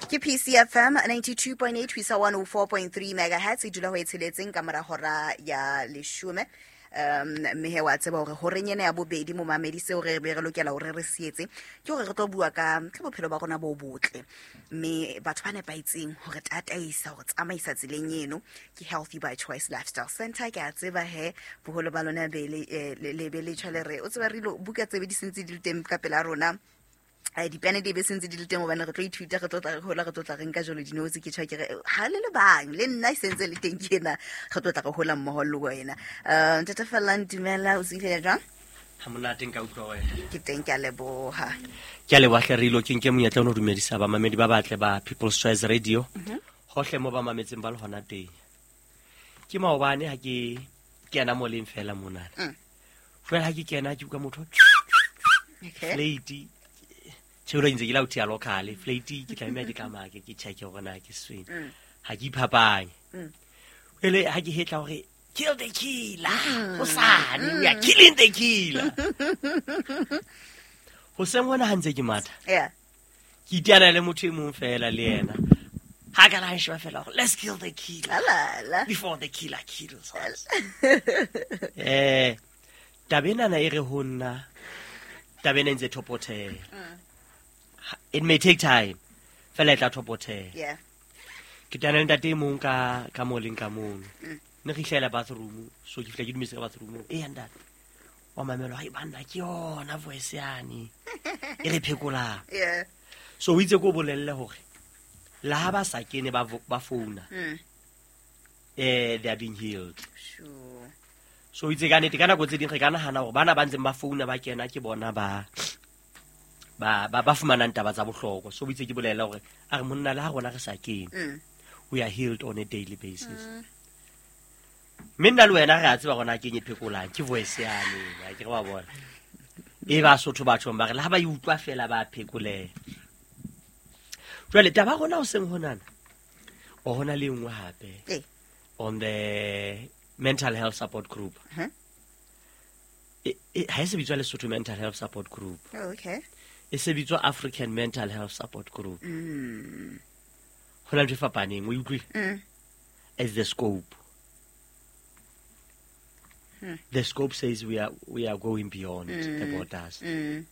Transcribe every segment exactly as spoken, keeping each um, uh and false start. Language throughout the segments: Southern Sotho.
Ke P C F M ninety-two point eight ho isa one oh four point three megahertz, e dula ho e tsheletseng ka mora hora ya leshome. um mme he wa tseba hore horeng ena ya bobedi, momamedi, seo re be re lokela hore re se etse ke hore re tlo bua ka ka bophelo ba rona bo botle, mme batho ba nepahetseng hore tataisa, hore tsamaisa tseleng eno ke Healthy by Choice Lifestyle Center. Ke a tseba he boholo ba lona be le eh, le le be le tjha le re o tseba re ilo buka tsebe di sentse di le teng ka pela rona. Eh, dipene di be sentse di le teng hobane re tlo ithuta, re tlo tla re hola, re tlo tla re nka jalo dinotes. Ke tjho ke re ha le le bang le nna e sentse le teng ke ena, re tlo tla re hola mmoho le wena. um ntate Fellang, dumela, o tswile jwang? Ha monate, nka utlwa wena. Ke teng, ke a leboha. Ke a leboha hle re ilo ke nke monyetla ono dumedisa bamamedi ba batle ba People's Choice Radio hohle mo ba mametseng ba le hona teng. Ke maobane ha ke kena mo leng fela monana, Mm. jwale ha ke kena ke utlwa motho okay flate tjhe ntse ke la uthi ya local flate, ke tlameha ke tlamaya ke check hore na ke sefeng. Mm. Ha ke iphapanye. Mm. Ele ha ke hetla hore kill the killer, hosane we are killing the killer. Hoseng hona ha ntse ke matha, yeah ke iteana le motho e mong fela, le yena ha ka la sheba fela hore let's kill the killer alala before the killer kills us. eh taba enana e re ho nna, taba ena e ntse thopothela. Ha- it may take time, fela e tla thopothela. Yeah ke teana le ntate e mong ka ka mo leng ka mono, ne re ihlela bathroom, so ke fihla ke dumetse ka bathroom e ya ntate wa mamelo, hai banna, ke yona voice yane e re phekolang. Yeah so o itse ko o bolelle hore le ha ba sa kene ba vo- ba founa, mm. eh they are being healed. Sure so o itse ka nnete, ka nako tse ding re ka nahana hore bana ba ntseng ba founa ba kena ke bona ba ba ba ba fumanang taba tsa bohlokwa. So o itse ke bolele hore a re monna, le ha rona re sa kene, mm. we are healed on a daily basis. Mme nna le wena re a tseba gona kenye phekolang ke voice yane, ha ke re wa bona e ba Sotho bathong ba re le ha ba e utlwa fela ba phekoleha. Jwale taba ya rona hoseng honana o hona le e nngwe hape Eh. on the mental health support group. Huh? E- e- ha e se bitswa Lesotho Mental Health Support Group. Oh, okay. E se bitswa African Mental Health Support Group. Mm. Ho na le ntho e fapaneng, o e utlwile? Mm. As the scope, the scope says we are, we are going beyond the borders. Mm.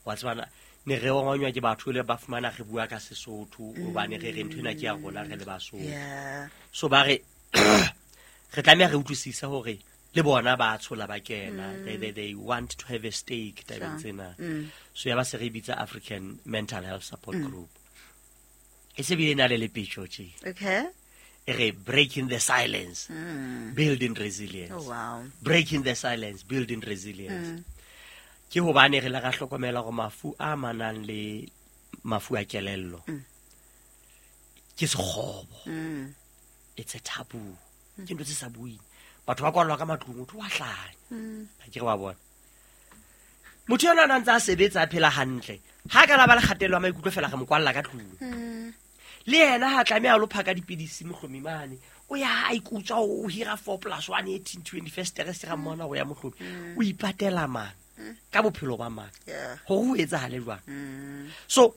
Wa tsebana ne re ongonywa ke batho le ba fumana re bua ka Sesotho hobane re re ntho ena ke ya rona re le Basotho. Yeah. So ba re re tlameha re utlwisise hore le bona ba tshola ba kena, they, they, they want to have a stake tabeng Sure. tsena. Mm. So ya ba se re bitsa African Mental Health Support Group, e se bile na le lepetjo tje. Okay. E re breaking the silence, Mm. building resilience. Oh wow. Breaking the silence, building resilience, ke hobane re le ra hlokomela hore mafu a manang le mafu a kelello ke sekgobo. Mm. It's a taboo, ke ntho tse sa buing, batho ba kwallwa ka matlung, motho wa hlanya. Ha ke re wa bona motho yona a na ntse a sebetsa, a phela hantle, ha ka la ba le kgatello ya maikutlo fela, re mo kwalla ka tlung. Mm. Le yena ha tlameha a lo phaka dipidisi mohlomi mane, o ya a ikutswa, o hira four plus one eighteen twenty first re se ra mmona go ya mohlomi, o ipatela mang ka bophelo ba mang? Yeah. Hore ho etsahale jwang? Mm. So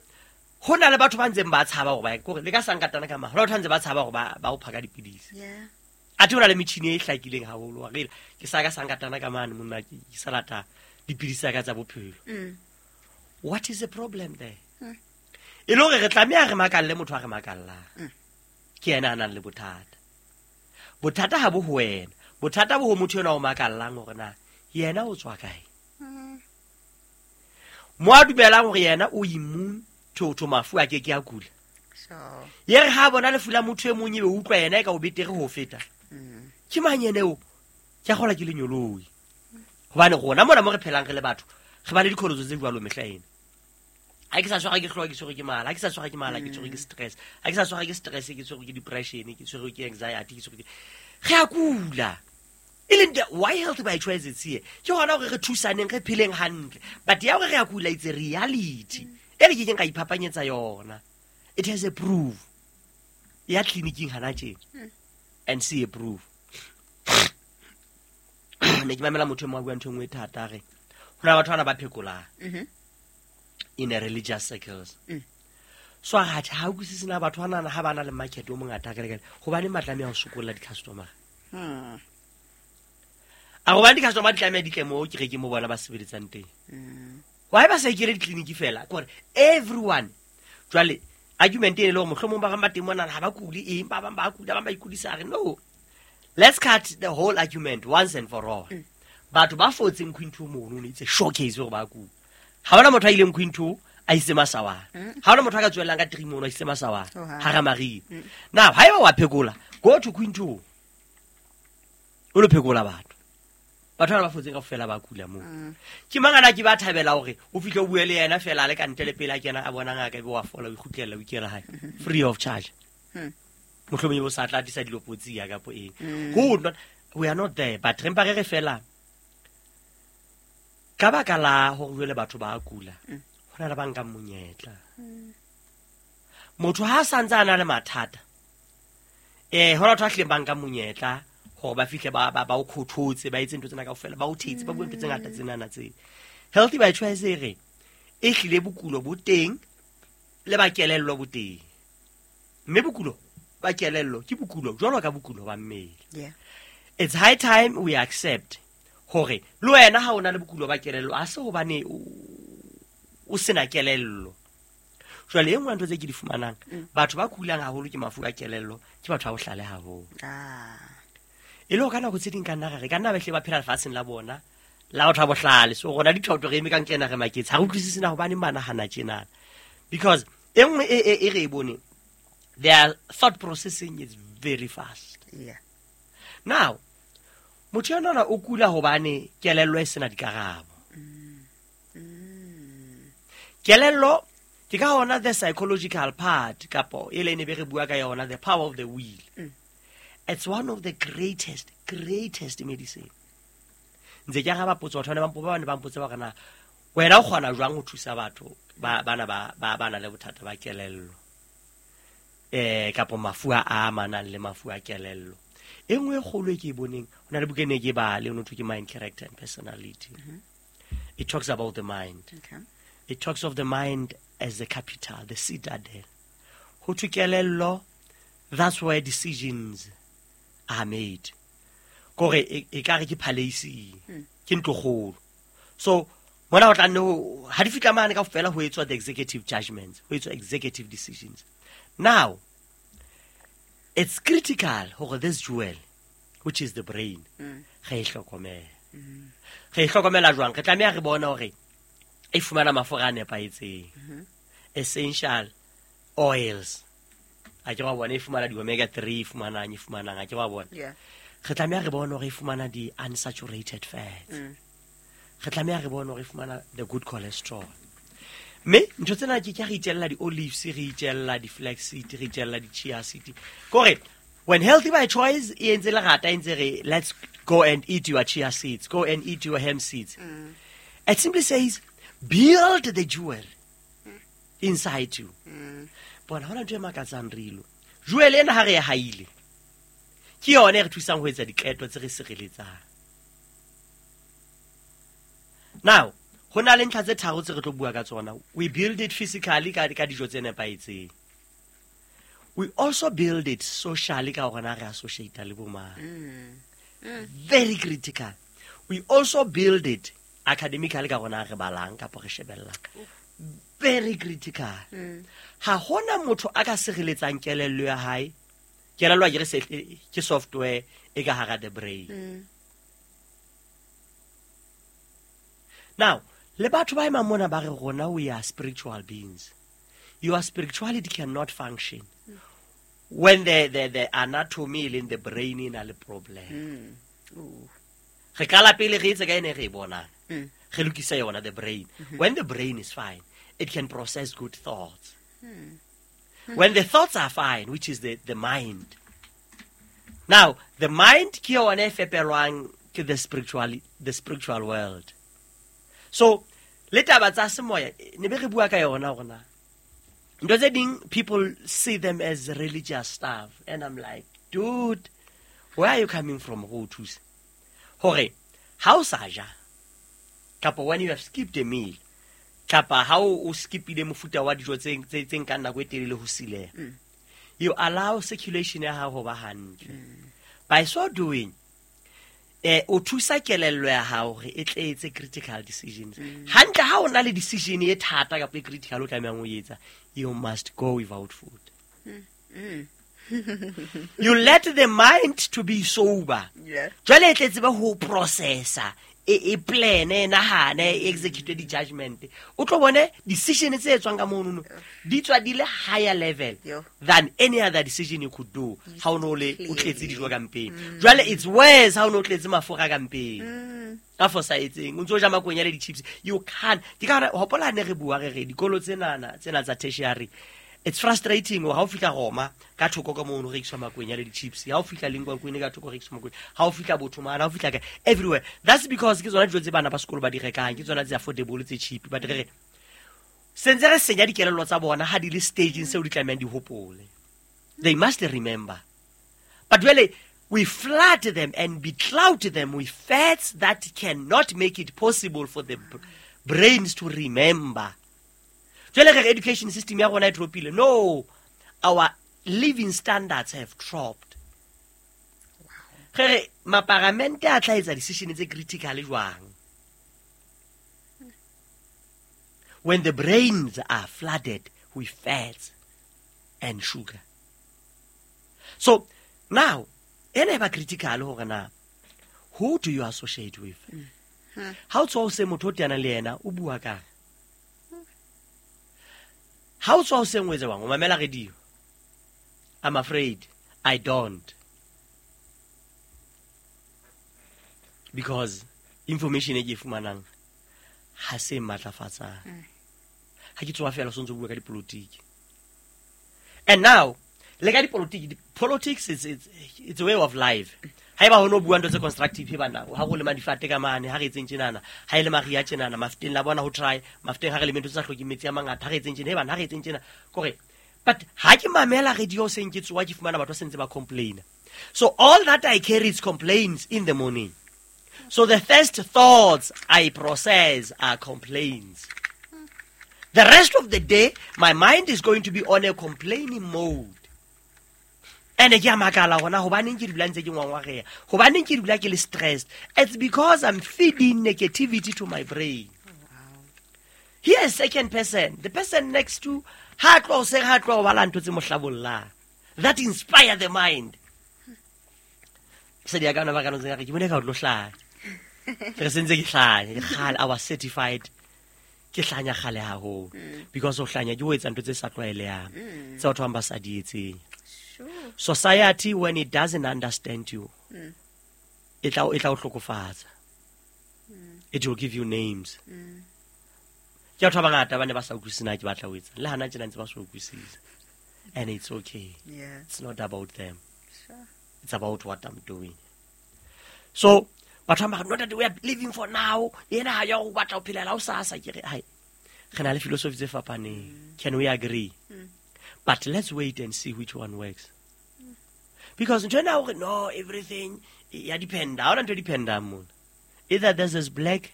ho na le batho ba ntseng ba tshaba hore ba kore le ka sankatana ka maha, ho na batho ba ntse ba tshaba hore ba ba o phaka dipidisi. Yeah. Athe ho na le metjhini e hlakileng haholo wa re ke sa ka sankatana ka mane monna, ke ke sa lata dipidisi tsa ka tsa bophelo. Mm. What is the problem there? E le hore re tlameha re makalle motho a re makallang ke yena a nang le bothata. Bothata ha bo ho wena, bothata bo ho motho enwa o makallang hore na yena o tswa kae, mo a dumelang hore yena o immune to to mafu a ke ke a kula. Sure. Ye re ha bona lefu la motho e mong, ebe o utlwa yena e ka o betere ho feta. Ke mang ene o ke a kgola ke lenyoloi, hobane rona mona mo re phelang re le batho re ba le dikholotso tse jwalo mehla ena. Ha ke sa tshwara ke hlooho, ke tshwerwe ke mala. Ha ke sa tshwara ke mala, ke tshwerwe ke stress. Ha ke sa tshwara ke stress, ke tshwerwe ke depression, ke tshwerwe ke anxiety, ke tshwerwe ke re a kula. E leng the why Health by Choice it's here, ke hona hore re thusaneng, re pheleng hantle. But ya hore re a kula, it's a reality e re kekeng ka iphapanyetsa yona. It has a proof ya tleliniking hana tjena and see a proof. Ne ke mamela motho e mong a bua ntho e nngwe e thata, a re ho na le batho bana ba phekolang Mhm. in a religious circles. Mm. So a re, atjhe, ha utlwisise na batho ba nana ha ba na le market o mongata hakale-kale, hobaneng ba tlameha ho sokolla di-customer? Hmm. A re hobane di-customer di tlameha di tle moo kerekeng mo bona ba sebeletsang teng. Hmm. Why ba sa ikele ditleliniki fela? Ke hore everyone. Jwale argument e le hore mohlomong ba bang ba teng mona ha ba kule eng, ba bang ba kula, ba bang ba ikudisa. A re no. Let's cut the whole argument once and for all. Mm. Batho ba fotseng Queen two mono, it's a showcase hore ba kula. Ha hona motho a ileng Queen two a itse masawana. Mm. Ha hona motho a ka tswellang ka three mono a itse masawana. Oh, ha. Hara mariha. Mm. Now, haeba wa phekola, go to Queen two. O lo phekola batho. Batho ba ba fotseng kaofela ba kula moo. Mm. Ke mang ana ke ba thabela hore o fihle o bue le yena fela a le ka ntle le pele a kena a bona ngaka ebe wa fola, o ikgutlela, o ikela hae. Free of charge. Mm. Mohlomong ebe o sa tla tlisa dilopotsi ya kapo eng. Mm. Who would not, we are not there, but re mpa re re fela ka baka la hore jwale batho ba kula, Mm. ho na le ba nkang monyetla. Motho ha a santse a na le mathata, eh, ho na batho ba hlileng ba nkang monyetla hore ba fihle ba, ba, ba o kgothotse, ba etse ntho tsena kaofela, ba o thetse, ba bue ntho tse ngata tsenana tse. Healthy by Choice e re, e hlile bokulo bo teng le ba kelello bo teng. Mme bokulo ba kelello ke bokulo jwalo ka bokulo ba mmele. Yeah. It's high time we accept hore le wena ha o na le bokulo ba kelello, ha se hobane o, o sena kelello. Jwale e nngwe ya ntho tse ke di fumanang, Mm. batho ba kulang haholo ke mafu a kelello, ke batho ba bohlale haholo. Ah. E le hore ka nako tse ding ka nna ra re, ka nna ba hle ba phela lefatsheng la bona, la batho ba bohlale. So rona dithoto re eme ka nkena re maketse, ha re utlwisise na hobaneng ba nahana tjenana. Because e nngwe e, e, e re e boneng, their thought processing is very fast. Yeah. Now, motho enwana o kula hobane kelello e sena dikarabo. Kelello ke ka hona the psychological part kapo e le ne be re bua ka yona, the power of the will. Mm. It's one of the greatest, greatest medicine. Ntse ke araba potso, batho ba ne ba mpo-, ba ne ba mpotsa hore na wena o kgona jwang ho thusa batho ba, bana ba, ba, ba nang le bothata ba kelello, eh, kapo mafu a amanang le mafu a kelello. E nngwe e kgolo e ke e boneng, ho na le buka e ne ke e bale, ho no thwe ke Mind, Character and Personality. Mm-hmm. It talks about the mind. Okay. It talks of the mind as the capital, the citadel. Ho thwe kelello, that's where decisions are made. Kore e, e ka re ke palace, Mm. ke ntlokgolo. So mona ho tla nne ho, ha di fihla mane kaofela ho etswa the executive judgments, ho etswa executive decisions. Now, it's critical hore this jewel, which is the brain, Mm. re e hlokomele. Mm. Re e hlokomela jwang? Re tlameha re bone hore e fumana mafura a nepahetseng. Mm-hmm. Essential oils. A ke wa bona e fumana di-omega three, e fumanang, e fumanang, a ke wa bona. Yeah. Re tlameha re bone hore e fumana di-unsaturated fats. Mm. Re tlameha re bone hore e fumana the good cholesterol. Mme ntho tsena ke ke re itjella di-olives, re itjella di-flaxseed, re itjella di-chia seed. Kore when Healthy by Choice e entse lerata, e ntse re let's go and eat your chia seeds, go and eat your hemp seeds. Mm. It simply says build the jewel inside you. Mm. Bona hona ntho e makatsang rilo. Jewel ena ha re e haile, ke yona e re thusang ho etsa diqeto tse re sireletsang. Now, ho na le ntlha tse tharo tse re tlo bua ka tsona. We build it physically ka, ka dijo tse nepahetseng. We also build it socially ka hore na re associate le bo mang. Mm. Mm. Very critical. We also build it academically ka hore na re balang kapa re shebellang. Very critical. Mm. Ha hona motho a ka sireletsang kelello ya hae. Kelello a ke re se, ke software e ka hara the brain. Mm. Now, le batho ba emang mona ba re rona we are spiritual beings. Your spirituality cannot function when the, the, the anatomy in the brain e na le problem. Mm. Ooh. Re qala pele re etse ka ene re e bonang. Mm. Re lokisa yona the brain. Mm-hmm. When the brain is fine, it can process good thoughts. Mm. When the thoughts are fine, which is the, the mind. Now, the mind ke yona e fepelwang ke the spiritual, the spiritual world. So, le taba tsa semoya, ne be re bua ka yona hore na ntho tse ding, people see them as religious stuff. And I'm like, dude, where are you coming from ho thusa? Hore, ha o sa ja, kapa when you have skipped a meal, Kapa ha o o skipile mofuta wa dijo tse tse tse nkang nako e telele ho sileha. You allow circulation ya hao ho ba hantle. By so doing, eh o thusa kelello ya hao hore e tle etse critical decisions. Hantle ha o na le decision e thata kapa e critical o tlamehang ho etsa, you must go without food. You let the mind to be sober. Yeah. Jwale e tle tsebe ho processa, e e plan, e nahane, e execute di-judgment. O tlo bone decision tse etswang ka monono di tswa di le higher level Yo. than any other decision you could do ha o no le o tletse dijo ka mpeng. Jwale it's worse ha o no tletse mafura ka mpeng a fosahetseng, o ntso ja makwenya le di-chips. You can't. Ke ka hore hopola ne re bua re re dikolo tsenana tsena tsa tertiary, it's frustrating hore ha o fihla Roma ka thoko ka mono ho rekiswa makwenya le di-chips, ha o fihla Linkwakweni ka thoko ho rekiswa makwenya, ha o fihla Bothomane, ha o fihla kae, everywhere. That's because ke tsona dijo tse bana ba sekolo ba di rekang, ke tsona tse affordable, tse cheap. But re re sentse re senya dikelello tsa bona ha di le stageng seo di tlamehang di hopole. They must remember, but jwale we flood them and becloud them with fats that cannot make it possible for the b- brains to remember. Jwale re re education system ya rona e dropile. No, our living standards have dropped. Re re maparamente a tla etsa decision tse critical jwang when the brains are flooded with fats and sugar? So now ena e ba critical hore na who do you associate with. Ha o tswa o se motho o teanang le yena o bua kang, ha o tswa o seng o etse bang o mamela radio. I'm afraid I don't, because information e ke e fumanang ha se matlafatsang. Ha ke tsoha fela o sontso bua ka dipolotiki. And now le ka dipolotiki, di- politics is it's, it's a way of life. Haeba ho no bua ntho tse constructive, he bana ha go lema difate ka mane, ha re etseng tjenana, ha ile maria tjenana mafteng la bona ho try mafteng, ha re leme ntho tse sa hlokeng metsi a mangata, ha re etseng tjena, he bana ha re etseng tjena kore. But ha ke mamela radio seng ke tsoha ke fumana batho ba sentse ba complain. So all that I carry is complaints in the morning. So the first thoughts I process are complaints. The rest of the day, my mind is going to be on a complaining mode. And ke a makala gona hobaneng ke dula ntse ke ngwangwareha, hobaneng ke dula ke le stressed. It's because I'm feeding negativity to my brain. Here is second person, the person next to ha tloha hoseng, ha tloha ho bala ntho tse mo hlabollang that inspire the mind. Mosadi ya ka ona ba ka ntseng a re ke bone ka o tlo hlanya. Ke re sentse ke hlanya ke kgale. I was certified ke hlanya kgale haholo, because ho hlanya ke ho etsa ntho tse sa tlwaelehang, tse batho ba bang ba sa di etseng. Sure. Society, when it doesn't understand you, e tla e tla o hlokofatsa. It will give you names. Ke batho ba bangata ba ne ba sa utlwisise na ke batla ho etsang, le hana tjena ntse ba sa utlwisise, and it's okay. Yeah. It's not about them. Sure. It's about what I'm doing. So batho ba ba re, "No, that we are living for now, ena ha ya ho batla ho phelela ho sasa." Ke re hai, re na le philosophy tse fapaneng. Can we agree? But let's wait and see which one works, because ntho ena hore no everything ya dependa, ha hona ntho e dependang mona. Either this is black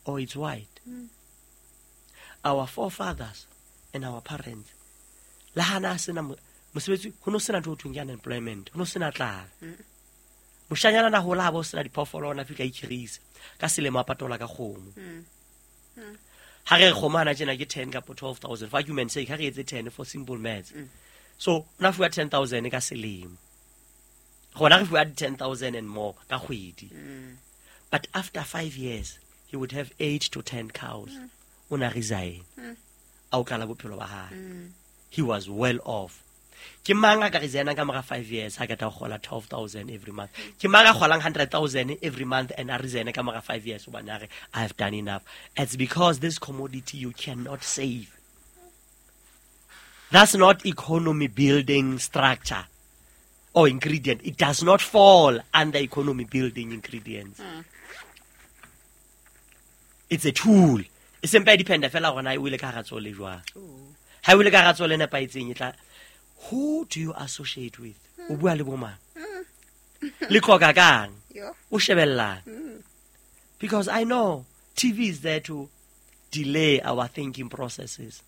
or it's white. Our forefathers and our parents, le hana sena mo- mosebetsi, ho no sena ntho ho thweng ke unemployment, ho no sena tlala. Moshanyana na hola ha bo sena diphoofolo, ona fihla ikhirisa ka selemo a patola ka kgomo. Ha re re kgomo hana tjena ke ten kapa twelve thousand, for argument's sake, ha re etse ten for simple maths. So o na fuwa ten thousand ka selemo, rona re fuwa ten thousand and more ka kgwedi. But after five years he would have eight to ten cows. O na resign a o qala bophelo ba hae. He was well off. Ke mang a ka resignang ka mora five years ha qeta ho kgola twelve thousand every month? Ke mang a kgolang hundred thousand every month and a resign ka mora five years hobane a re I have done enough? It's because this commodity you cannot save. That's not economy building structure or ingredient. It does not fall under economy building ingredients. It's a tool. E sempa e dependa fela hore na e wele ka hara tsole jwang. Ha e wele ka hara tsole e nepahetseng e tla. Who do you associate with? O bua le bo mang? Le qoqa kang? Yo. O shebellang? Because I know T V is there to delay our thinking processes.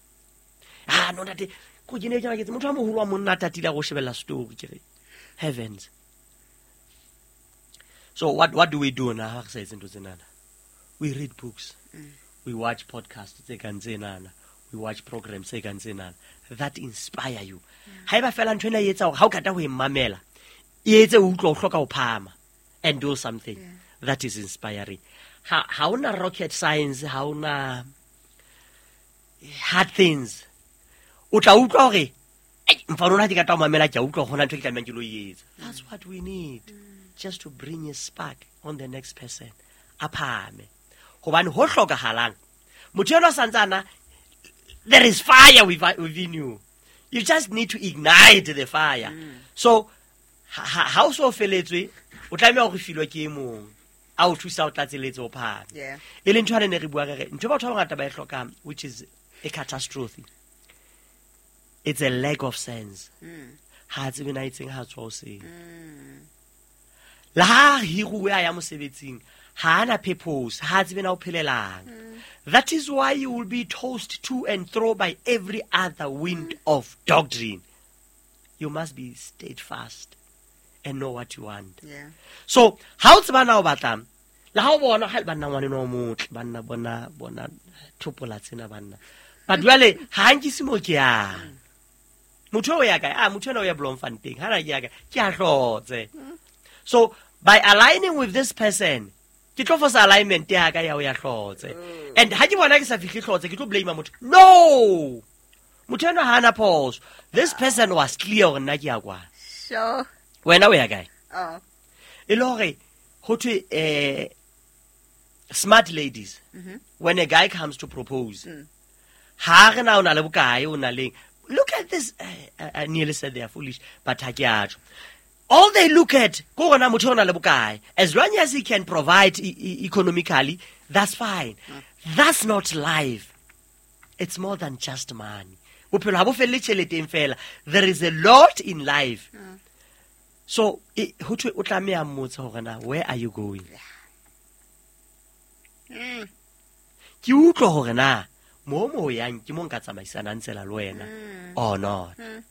Ah, no, ntate, ko ke ne ke maketse motho a moholo wa monna a tatile a go shebella story ke re heavens. So what what do we do now ha re sa etse ntho tsenana? We read books. We watch podcasts tse kang tsenana. We watch programs tse kang tsenana that inspire you. Haeba fela ntho ena e etsa hore ha o kata ho e mamela, e etse o utlwa o hloka ho phahama and do something. Yeah. That is inspiring. Ha ha ona rocket science, ha ona hard things. O tla utlwa hore ai mfano ona ke ka tla o mamela ke a utlwa hore hona ntho e ke tlamehang ke lo e etsa. That's what we need. Just to bring a spark on the next person. A phahame. Hobane ho hlokahalang. Motho enwa santsana there is fire within you. You just need to ignite the fire. Mm. So ha ha o so feletswe o tlameha hore filwe ke e mong a o thusa o tlatseletse o phahame. Yeah. E leng ntho ane ne re bua re re ntho batho ba bangata ba e hlokang, which is a catastrophe. It's a lack of sense. Mm. Ha tsebe na itseng ha tswa o seng. Mm. La ha hiruwe a ya mosebetsing, ha ana purpose, ha tsebe na o phelelang. Mm. That is why you will be tossed to and fro by every other wind of doctrine. You must be steadfast and know what you want. Yeah. So, ha o tseba na o batlang, le ha o bona ha banna ngwane no motle, banna bona bona thopola tsena banna. But jwale ha nkise mo ke yang. Motho o ya kae? Ah, motho ena o ya Bloemfontein. Ha na ke ya kae? Ke a hlotse. So, by aligning with this person, ke tlo fosa alignment ya ka ya o ya hlotse. And ha ke bona ke sa fihle hlotse, ke tlo blame motho. No! Motho ena ha ana phoso. This person was clear hore nna ke ya kwana. Sure. Wena o ya kae? Oh. E le hore ho thwe, eh, smart ladies, Mm-hmm. when a guy comes to propose, Mm. ha re na o na le bokae, o na leng. Look at this. I, I nearly said they are foolish, but ha ke a tjho. All they look at, ko rona motho o na le bokae. As long as he can provide e-, e-, economically, that's fine. Mm. That's not life. It's more than just money. Bophelo ha bo felle tjheleteng fela. There is a lot in life. Mm. So, e, ho thwe o tlameha mmotsa hore na, where are you going? Mm. Ke utlwa hore na, mo mo yang ke mo nka tsamaisanang tsela le wena Mm. or not. Mm.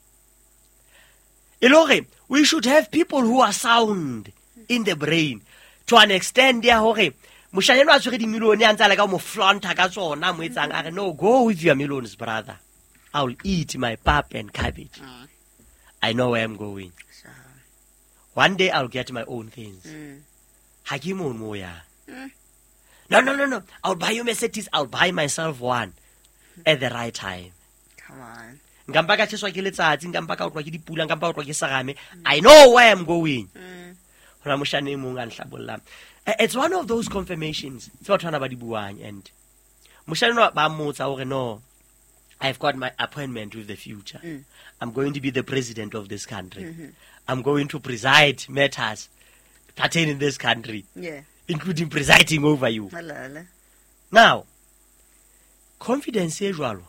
E le hore we should have people who are sound in the brain to an extent ya hore moshanyana a tshwere dimilione a ntse a leka ho mo flaunta ka tsona, mo etsang a re, no, go with your millions, brother. I'll eat my pap and cabbage. Mm. I know where I'm going. Sure. One day I'll get my own things. Mm. Ha ke mono mo yang. Mm. No, no, no, no. I'll buy you Mercedes. I'll buy myself one at the right time. Come on. Nka mpa ka tjheswa ke letsatsi, nka mpa ka otlwa ke dipula, nka mpa ka otlwa ke serame. I know where I'm going. Mm. Hona moshane e mong a nhlabollang. Eh, it's one of those confirmations tse batho bana ba di buang. And moshane enwa ba mmotsa hore no, I've got my appointment with the future. Mm. I'm going to be the president of this country. Mm-hmm. I'm going to preside matters pertaining this country, Yeah. including presiding over you. Halala. Now, confidence e jwalo,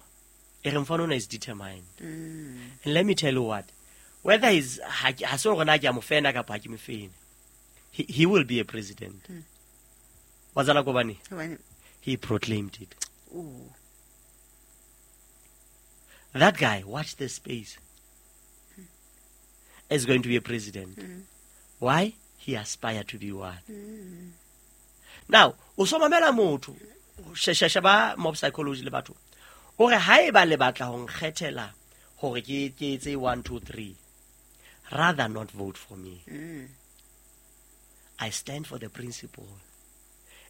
e re mfano ona is determined. Mm. And let me tell you what, whether he's, ha ke, ha se hore na ke a mo fena kapa ha ke mo fene, he, he will be a president. Mm. Wa tseba ko hobane? Hobane? He proclaimed it. Ooh. That guy, watch this space, is going to be a president. Mm. Why? He aspired to be one. Mm. Now, o so mamela motho, she-, she-, sheba mob psychology le batho. O re haeba le batla ho nkgethela hore ke, ke etse one, two, three, rather not vote for me. Mm. I stand for the principle.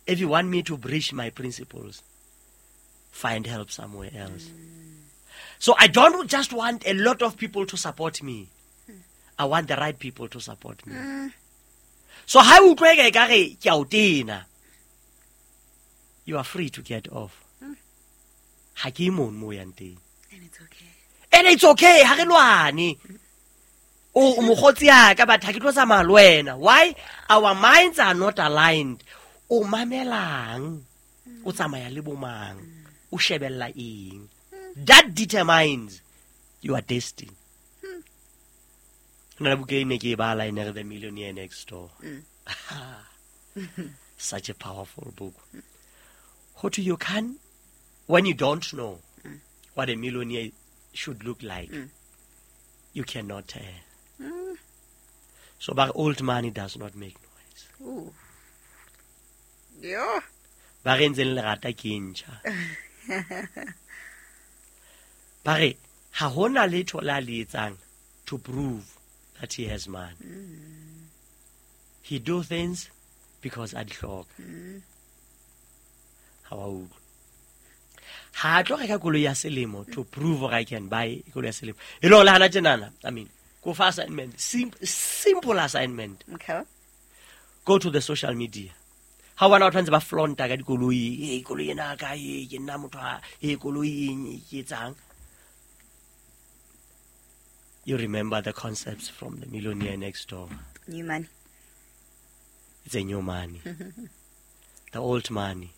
If you want me to breach my principles, find help somewhere else. Mm. So I don't just want a lot of people to support me. I want the right people to support me. Mm. So ha o utlwa eka ekare ke a o tena, you are free to get off. Mm. Ha ke mono mo yang teng. And it's okay. And it's okay, ha re lwane. O, o mokgotsi ya ka, but ha ke tlo tsamaya le wena. Why? Our minds are not aligned. O mamelang? O tsamaya le bo mang? O shebella eng? That determines your destiny. Ho na le buka e ne ke e bala, e ne re The Millionaire Next Door. Mm. Such a powerful book. Ho thwe you can When you don't know what a millionaire should look like, Mm. you cannot tell. So but old money does not make noise. Ooh. Yo. Ba re ntseng lerata ke e ntjha. Ba re ha hona letho la le etsang to prove that he has money. He do things because a di hloka. Ha wa utlwa. Ha a tlo reka koloi ya selemo to prove hore I can buy koloi ya selemo. E le hore le hana tjenana, I mean, go for assignment, sim simple assignment. Okay. Go to the social media. Ha o bona batho ba ntse ba flaunta ka dikoloi, e koloi ena ka e ke nna motho a e koloi eng e ke etsang. You remember the concepts from the Millionaire Next Door. New money. It's a new money. The old money,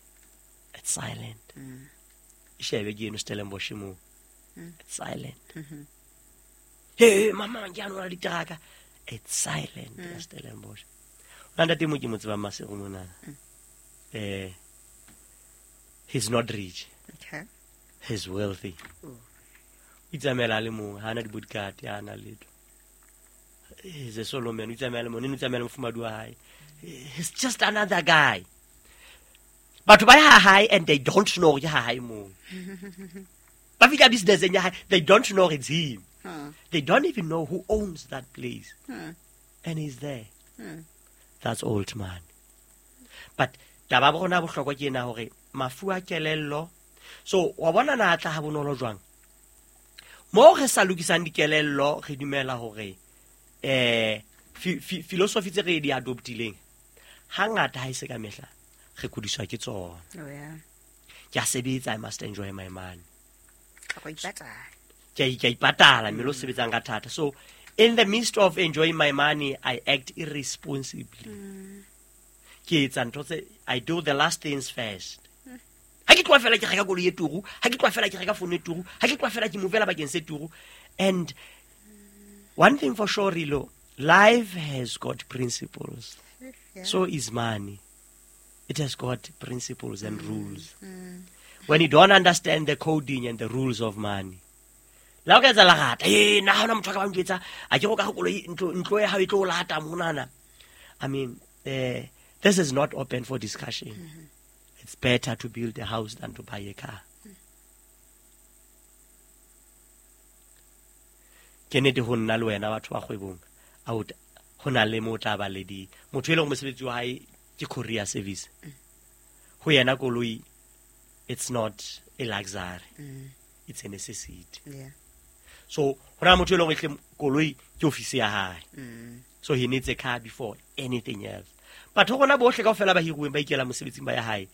it's silent. E shebe ke eno Stellenbosch moo. It's silent. Hey, mama, ke a nwa diteraka. It's silent, mm. Stellenbosch. O na ntate mo ke mo tsebang Maseru mona. Eh, he's not rich. Okay. He's wealthy. Ooh. O itsamaela a le mong, ha ana di-bodyguard, ha ana letho. He's a solo man, o itsamaela le mong, o itsamaela le mofumahadi wa hae. He's just another guy. Batho ba ya ha hae and they don't know hore ke ha hae moo. Ba fihla business-eng ya hae, they don't know it's him. Hmm. They don't even know who owns that place. Hmm. And he's there. Hmm. That's old man. But taba ya rona bohlokwa ke ena hore mafu a kelello. So wa bona na tla ha bonolo jwang? Mo re sa lokisang dikelello re dumela hore eh philosophy tse re di adoptileng hangata ha e se ka mehla re kudiswa ke tsona. Oh yeah. Ke a sebetsa, I must enjoy my money. Ka go ipatala. Ke a ke a ipatala mme lo sebetsang ka thata. So in the midst of enjoying my money, I act irresponsibly. Mm. Ke etsa ntho tse, I do the last things first. Ha ke tloha fela ke reka koloi e turu, ha ke tloha fela ke reka phone e turu, ha ke tloha fela ke movela bakeng se turu. And one thing for sure, Rilo, life has got principles. Yeah. So is money. It has got principles and mm. rules. Mm. When you don't understand the coding and the rules of money, la o ka etsa lerata, eh, nna ha hona motho a ka ba njwetsa, a ke go ka go koloi ntlo ntlo ya hao e tlo o lata monana. I mean, eh, this is not open for discussion. Mm-hmm. It's better to build a house than to buy a car. Ke nnete ho nna le wena batho ba kgwebong, out ho na le mo tla ba le di motho e leng mosebetsi wa hae ke courier service. Ho yena koloi, it's not a luxury. Mm. It's a necessity. Yeah. So ho na motho e leng hore koloi ke office ya hae. Mm. So he needs a car before anything else. But ho rona bohle kaofela ba hiruweng ba ikela mosebetsing ba ya hae,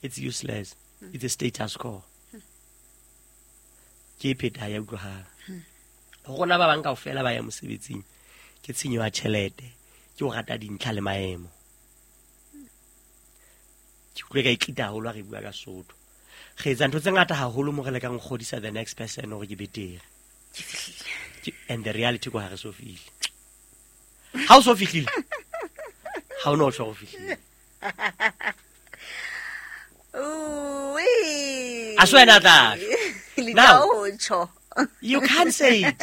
it's useless. Mm. It's a status quo. Ke pheta ya utlwahala. Ho rona ba bang kaofela ba ya mosebetsing ke tshenyo ya tjhelete, ke o rata dintlha le maemo. Ke utlwe ka itlita haholo ha re bua ka Sotho. Re etsa ntho tse ngata haholo mo re lekang ho kgodisa the next person hore ke betere. Ke fihlile. And the reality ko ha re so fihle. Ha o so fihlile, ha o no tjho ho fihlile. Ooh-wee. A so wena tla. Now, you can't say it.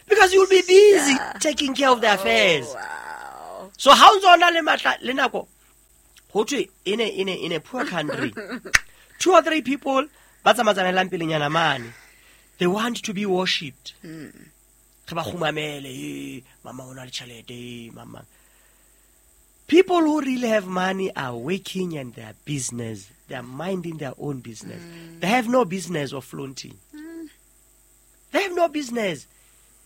Because you'll be busy yeah. taking care of the affairs. Oh, wow. So how ntso na le matla le nako ho thwe in a, in a, in a poor country, two or three people ba tsamatsamaelang pelenyana mane, they want to be worshipped. Mm. Re ba kgumamele, eh, mama o na le tjhelete, mama. People who really have money are working in their business. They are minding their own business. Mm. They have no business of flaunting. Mm. They have no business.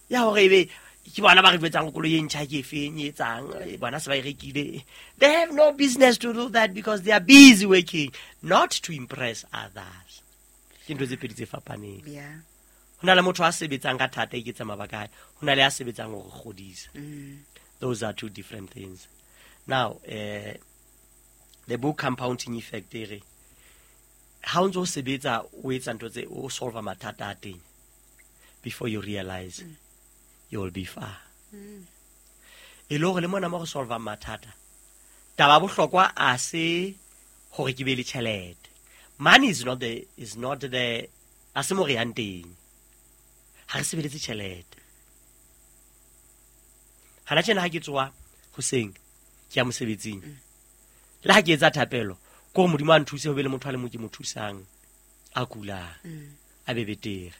Ya hore ebe ke bona ba re jwetsang koloi e ntjha ke efeng e etsang, bona se ba e rekile. They have no business to do that because they are busy working, not to impress others. Ke ntho tse pedi tse fapaneng. Yeah. Ho na le motho a sebetsang ka thata e ketsa mabaka a hae, ho na le a sebetsang hore kgodisa. Mm. Those are two different things. Now, uh, the book Compounding Effect e re ha o ntso o sebetsa o etsa ntho tse o solve mathata a teng before you realize mm. you will be far. Mm. E le hore le mona mo re solve mathata, taba bohlokwa a se hore ke be le tjhelete. Money is not the is not the a se mo re yang teng. Ha re sebeletse tjhelete. Hana tjena ha ke tsoha hoseng ke ya mosebetsing. Le ha ke etsa thapelo, ke hore Modimo a nthuse ho be le motho a le mong ke mo thusang a kulang, a be betere.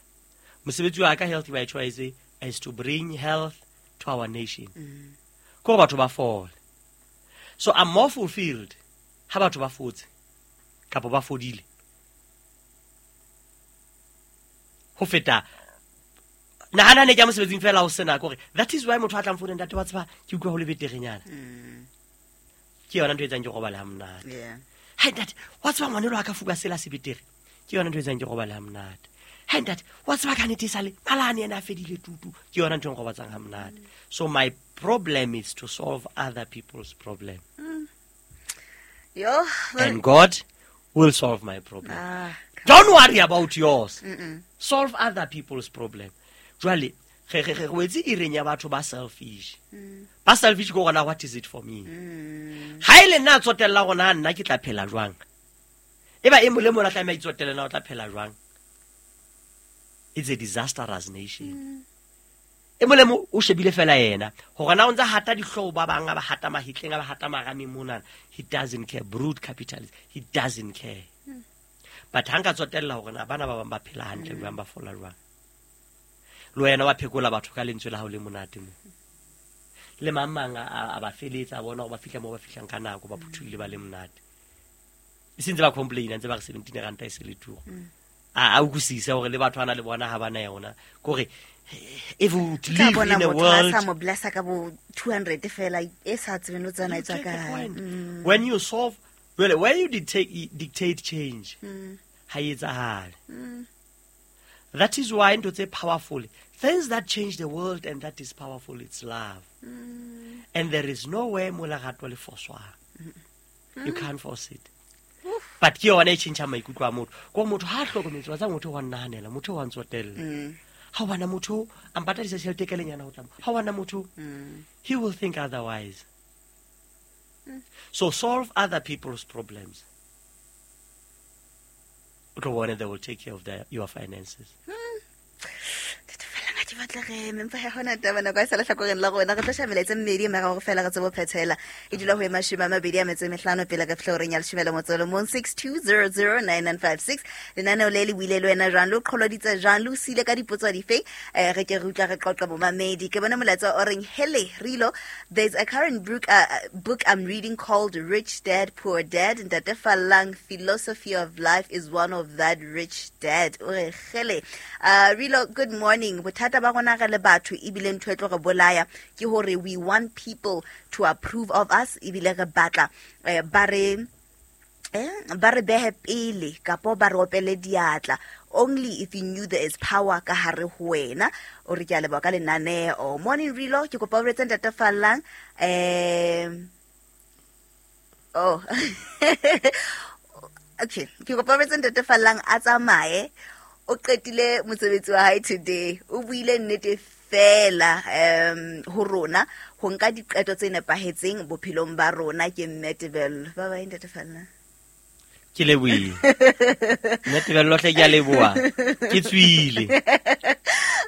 Mosebetsi wa ka Healthy by Choice is to bring health to our nation. Ke hore batho ba fole. So I'm more fulfilled ha batho ba fotse kapa ba fodile ho feta nahana ne ke ya mosebetsing fela ho sena kore that is why motho a tlang founeng, ntate wa tseba ke utlwa ho le beterenyana. Ke yona ntho e etsang ke robale ha monate. Yeah. Hai ntate, wa tseba ngwanelo wa ka fuka sela se betere. Ke yona ntho e etsang ke robale ha monate. Hai ntate, wa tseba ka nnete e sale malane ena a fedile tutu. Ke yona ntho e nrobatsang ha monate. So my problem is to solve other people's problem. Yo, And God will solve my problem. Ah, Don't worry about yours. Solve other people's problem. Jwale, re re re wetse ireng ya batho ba selfish. Ba selfish go gona, what is it for me? Ha ile nna tsotella gona nna ke tla phela jwang? E ba e mo le mo la tlameha itsotelle na o tla phela jwang? It's a disastrous nation. E mo le mo o shebile fela yena hore na o ntsa hata dihlooho ba bang ba hata mahitleng ba hata marameng mona. He doesn't care. Brute capitalist. He doesn't care. But ha nka tsotella hore na bana ba bang ba phela hantle jwang, ba fola jwang. Le wena wa phekola batho ka lentswe la hao le monate mo. Le mang mang a, a ba feletsa, a bona hore ba fihla moo ba fihlang ka nako, ba phuthuile ba le monate. E sentse ba complain, ntse ba re seventeen ranta e se le turu. A, a utlwisise hore le batho ana le bona ha bana yona. Ke hore, if we would Tla live bona in a motho a world sa mo blessa ka bo two hundred fela, e sa tsebeng le tsena e tswa You take the kae. point. Mm. When you solve, well, where you dictate, dictate change, Mm. ha e etsahale. Mm. That is why ntho tse powerful, things that change the world and that is powerful, it's love. Mm. And there is no way mo lerato le foswang. Mm. You can't force it. But ke yona e tjhentjha maikutlo a motho. Ko motho ha hlokometse, wa tseba motho wa nnahanela, motho wa ntsotella. Mm. Ha wa na motho a mpatadisa tjhelete ka lenyana ho tla mo. Ha wa na motho, Mm. he will think otherwise. So solve other people's problems. O tlo bona they will take care of their, your finances. Ke batla re eme, empa ha hona taba, nako e sa le hlakoreng la rona. Re tlo sheba melaetsa e mmedi, mme ra hore fela re tsebe ho phethela. E dula ho e mashome a mabedi a metso e mehlano pele re fihla horeng ya leshome le motso o le mong, six two zero zero nine nine five six. Lenaneo le le buile le wena jwang, le o qholoditse jwang, le o siile ka dipotso dife? Eh, re ke re utlwa re qoqa bomamedi. Ke bone molaetsa o reng, Hele, Rilo, there's a current book, uh, book I'm reading called Rich Dad Poor Dad. Ntate Fallang, Philosophy of Life is one of that rich dad. O re, Hele. Uh, Rilo, good morning. Bothata ba rona re le batho ebile ntho e tlo re bolaya ke hore we want people to approve of us, ebile re batla, eh, ba re, eh, ba re behe pele kapo ba re opele diatla. Only if you knew there is power ka hare ho wena. O re ke a leboha ka lenaneo. Morning Rilo, ke kopa o retse Ntate Fallang. Eh, oh. Okay, ke kopa o retse Ntate Fallang a tsamaye. O qetile mosebetsi wa hae today. O buile nnete fela, um, ho rona, ho nka diqeto tse nepahetseng bophelong ba rona. Ke Mme Tebello. Bye bye, Ntate Fallang. Ke lebohile. Mme Tebello hle ke a leboha. Ke tswile.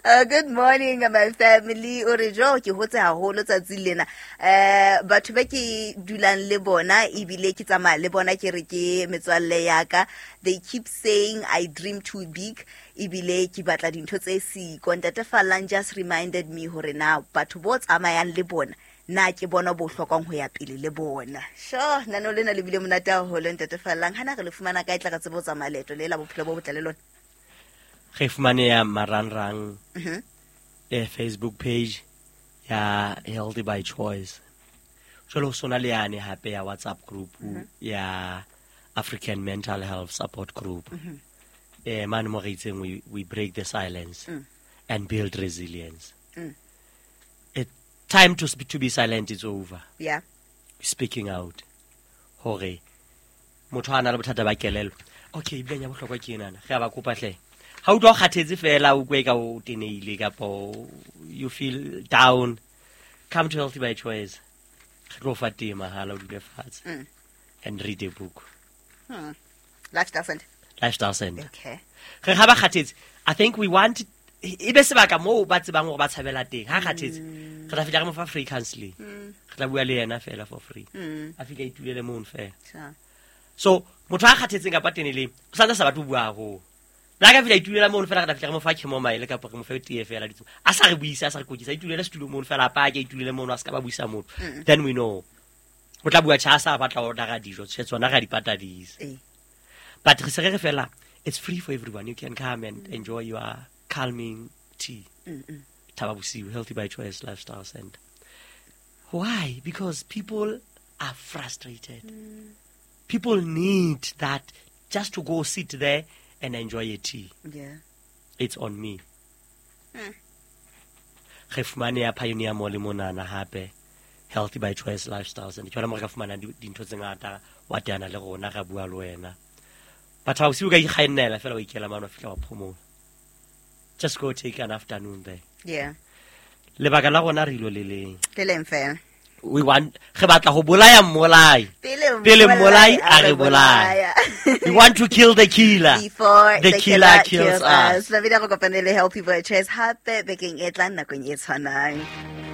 Uh, good morning, my family. O re jo, ke hotse haholo tsatsing lena. Eh, batho ba ke dulang le bona ebile ke tsamaya le bona, ke re ke metswalle ya ka. They keep saying I dream too big, ebile ke batla dintho tse siko. Ntate Fallang just reminded me hore na batho bo tsamayang le bona, na ke bona bo hlokang ho ya pele le bona. Sure, nano lena le bile monate haholo, Ntate Fallang. Hana re le fumana kae tla re tsebe ho tsamaya leeto le la bophelo bo botle le lona? Re fumaneha marangrang, Mhm. eh, Facebook page ya Healthy by Choice. Jwale ho sona le yane hape ya WhatsApp group Mhm. ya African Mental Health Support Group. Mhm. Eh, mane mo re itseng we, we break the silence Mm. and build resilience. Mm. It, time to sp-, to be silent is over. Yeah. Speaking out. Hore motho a na le bothata ba kelello. Okay, ebile ya bohlokwa ke enana. Re a ba kopa hle. Ha utlwa o kgathetse fela, o kwe ka o tenehile kapa you feel down, come to Healthy by Choice. Re tlo fa tee mahala, o dule fatshe. Mm. And read a book. Hmm. Lifestyle Center. Lifestyle Center. Okay. Re ga ba kgathetse, I think we want e be sebaka moo ba tsebang gore ba tshabela teng. Ha kgathetse, re tla fihla re mo fa free counseling. Re tla bua le yena fela for free. Mm. A fihla a itulele mono fela. Sure. So motho a kgathetseng kapa teneleng, o santse a sa batle ho bua haholo. Le ha ka fihla a itulela mono fela, re tla fihla re mo fa chamomile kapa re mo fe tee fela ditso. A sa re buise, a sa re kokisa, a itulele setulo mono fela, a pake, a itulele mono, a se ka ba buisa motho. Then we know. O tla bua tjhe, a sa batla ho order-a dijo, tjhe, tsona re a di patadisa. Eh. But re se re re fela, it's free for everyone. You can come and enjoy your calming tea. Mm-mm. Thaba Bosiu, Healthy by Choice Lifestyle Center. Why? Because people are frustrated. People need that just to go sit there and enjoy a tea. Yeah. It's on me. Mm. Re fumane ya Pioneer Mall monana hape, Healthy by Choice Lifestyle Center. Ke yona mo re ka fumanang di- dintho tse ngata, wa teana le rona, ra bua le wena. But ha o se o ka ikgannela fela wa ikela mane wa fihla wa phomola. Just go take an afternoon there. Yeah. Lebaka la rona re ilo le leng. Le leng fela. We want, re batla ho bolaya mmolai. Pele Pele mmolai a re bolaya. We want to kill the killer. Before The the, killer killer, kills kills us. us. Babedi re kopane le Healthy by Choice hape bekeng e tlang nakong e tshwanang.